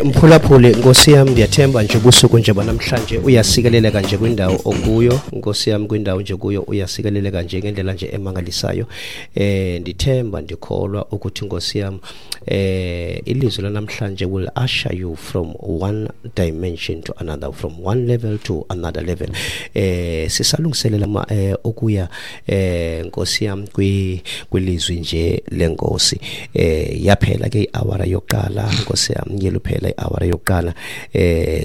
Mphulaphuli, Nkosi yam, ndiyathemba nje ubusuku nje banamhlanje uyasikeleleka nje kwindawo okuyo. Nkosi yam, kwindawo nje kuyo uyasikeleleka nje ngendlela nje emangalisayo. Ndithemba, ndikholwa ukuthi, Nkosi yam, ilizwi lanamhlanje will usher you from one dimension to another, from one level to another level. Sisalungiselela ukuya, Nkosi yam, kwilizwi nje lenkosi. Yaphela ke iawara yokuqala, Nkosi yam, ngeluphela iawara yokuqala.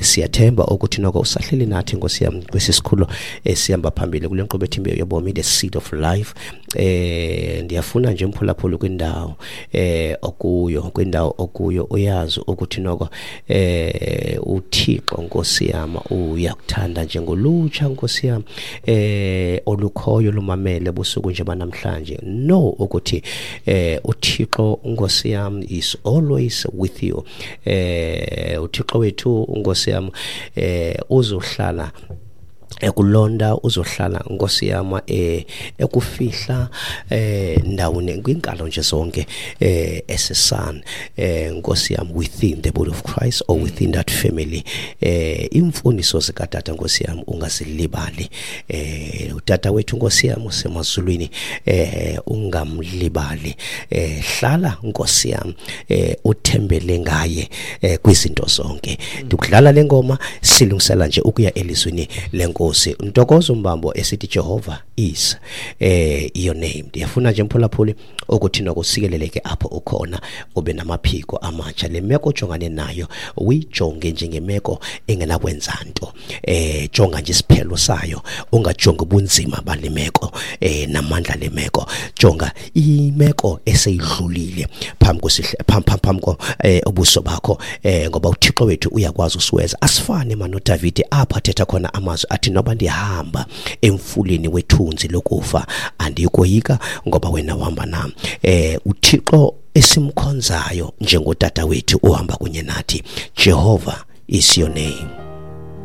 Siyathemba ukuthi noko usahleli nathi, Nkosi yam, kwesi sikhulo esihamba phambili kule nkqubo ethi Imbewu Yobomi, The Seed of Life. Ndiyafuna nje, mphulaphula, kwindawo okuyo, kwindawo okuyo, uyazi ukuthi noko uThixo, Nkosi yam, uyakuthanda njengolutsha, Nkosi yam, olukhoyo lumamele busuku nje banamhlanje. Know ukuthi uThixo, Nkosi yam, is always with you. UThixo wethu, Nkosi yam, uzohlala ekulonda, uzohlala, Nkosi yam, ekufihla ndawoni kwinkalo nje zonke, as a son, Nkosi yam, within the body of Christ or within that family. Imfundiso zikatata, Nkosi yam, ungazilibali. Utata wethu, Nkosi yam, usemazulwini, ungamlibali. Hlala, Nkosi yam, uthembele ngaye kwizinto zonke. Ndikudlala le ngoma silungisela nje ukuya elizwini lenkosi. Ntokozo Mbambo esithi "Jehovah Is Your Name". Ndiyafuna nje, mphulaphuli, ukuthi nokusikeleleke apho ukhona, ube namaphiko amatsha. Le meko ojongane nayo uyijonge njengemeko engenakwenza nto. Jonga nje isiphelo sayo, ungajongi ubunzima bale meko namandla le meko. Jonga imeko eseyidlulile phambi kwesihle phambi ko ubuso bakho, ngoba uThixo wethu uyakwazi usiweza. Asifane mani noDavide apho athetha khona amazwi athi, "Noba ndihamba emfuleni wethunzi lokufa, andiyikoyika, ngoba wena uhamba nam." UThixo esimkhonzayo njengotata wethu uhamba kunye nathi. Jehovah Is Your Name.